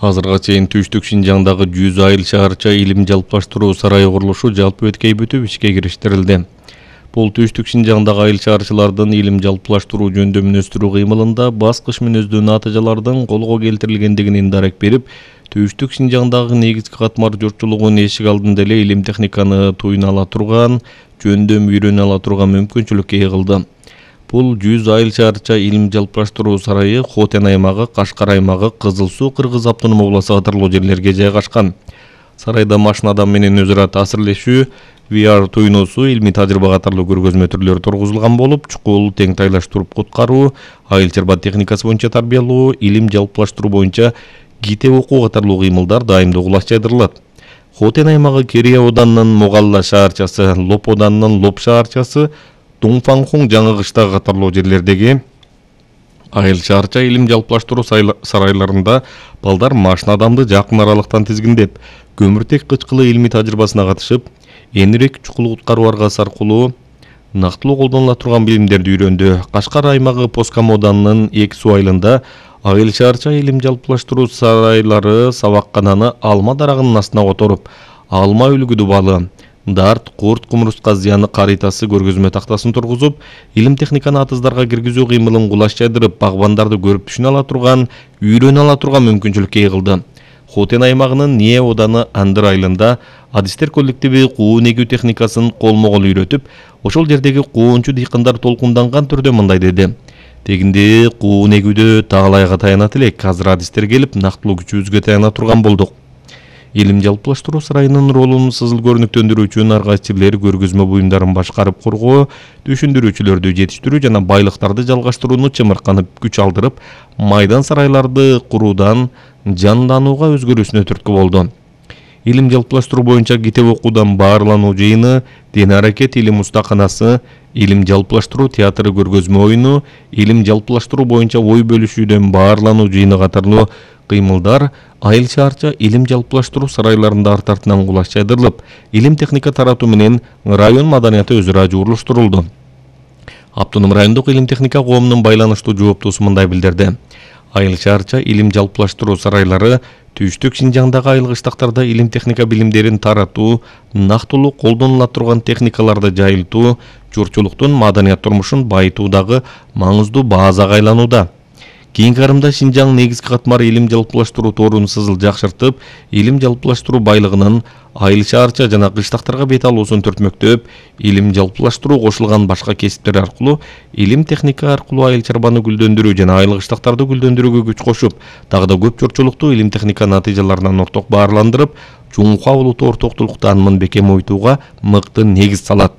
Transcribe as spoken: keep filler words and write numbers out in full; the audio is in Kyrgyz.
Азырга чейин Түштүк Шинжаңдагы жүз айыл шаарча илим жалпылаштыруу сарайы курулушу жалпы өткөй бүтүп ишке кириштирилди. Бул Түштүк Шинжаңдагы айыл шаарчылардын илим жалпылаштыруу жөнүндө мүнөздөрү кыймылында баскыч мүнөздүү натыйжалардын колго келтирилгендигинин дарек берип, Түштүк Шинжаңдагы негизги катмар журтчулугун эшик алдында эле илим техниканы туйуна ала турган, жөндөм үйрөнө ала турган мүмкүнчүлүккө ээ кылды. Бул жүз айыл шаарча илим жалпылаштыруу сарайы Хотен аймагы, Кашкар аймагы, Кызыл Суу, Кыргыз автономдук обласу катарлуу жерлерге жайгашкан. Сарайда машина адам менен өз ара таасирлешүү, ви ар туйнусу, илмий тажрыйба катарлуу көргөзмө түрлөрү тургузулган болуп, чукул, тең тайлаштырып куткаруу, айыл чарба техникасы боюнча тарбиялоо, илим жалпылаштыруу боюнча китеп окуу катарлуу кыймылдар дайымдуу кулаш жайдырылат. Хотен аймагы Керия оданынын Могалла шаарчасы, Лоп оданынын Лоп шаарчасы, Дуңфанхуң жаңы кыштагы катарлуу жерлердеги айыл шаарча илим жалпылаштыруу сарайларында балдар машина адамды жакын аралыктан тизгиндеп, көмүртек кычкылы илмий тажрыйбасына катышып, энирээк чукул куткаруу аргасы аркылуу нактылуу колдонула турган билимдерди үйрөндү. Кашкар аймагы Поскам оданынын Эки Суу айылында айыл шаарча илим жалпылаштыруу сарайлары сабаккананы алма дарагынын астына которуп, алма үлгүдү балы, дарт, курт, кумурска зыяны каритасы көргөзмө тактасын тургузуп, илим техниканы атыздарга киргизүү кыймылын кулаш жайдырып, багбандарды көрүп түшүнө ала турган, үйрөнө ала турган мүмкүнчүлүккө ээ кылды. Хотен аймагынын Ние оданы Андыр айылында адистер коллективи куун эгүү техникасын колмо-кол үйрөтүп, ошол жердеги куунчу дыйкандар толкунданган түрдө мындай деди: "Тегинде куун эгүүдө таалайга таянат элек, азыр адистер келип, нактылуу күчүбүзгө таяна турган болдук." Илим жалпылаштыруу сарайынын ролун сызыл көрүнүктөндүрүү үчүн ар кайсыбир көргөзмө буюмдарын башкарып кургоо, түшүндүрүүчүлөрдү жетиштирүү жана байлыктарды жалгаштырууну чымырканып күч алдырып, майдан сарайларды куруудан жанданууга өзгөрүүсүнө түрткү болду. Илим жалпылаштыруу боюнча китеп окуудан баарлануу жыйыны, Ден аракет илим устаканасы, илим жалпылаштыруу театры көргөзмө оюну, илим жалпылаштыруу боюнча ой бөлүшүүдөн баарлануу жыйыны катарлуу кыймылдар айыл шаарча илим жалпылаштыруу сарайларында арт артынан кулаш жайдырылып, илим техника таратуу менен район маданияты өз ара жууруштурулду. Автоном райондук илим техника коомунун байланыштуу жооптуусу мындай билдирди: айыл шаарча илим жалпылаштыруу сарайлары Түштүк Шинжаңдагы айыл кыштактарда илим техника билимдерин таратуу, нактылуу колдонула турган техникаларды жайылтуу, журтчулуктун маданият турмушун байытуудагы маңыздуу базага айланууда. Кийинки карымда Шинжаң негизги катмар илим жалпылаштыруу торун сызыл жакшыртып, илим жалпылаштыруу байлыгынын айыл шаарча жана кыштактарга бет алуусун түртмөктөп, илим жалпылаштыруу кошулган башка кесиптер аркылуу илим техника аркылуу айыл чарбаны гүлдөндүрүү жана айыл кыштактарды гүлдөндүрүүгө күч кошуп, дагы да көп журтчулукту илим техника натыйжаларынан орток баарландырып, Жумка улуттуу ортоктулуктан Мынбеке Мойтууга мыкты негиз салат.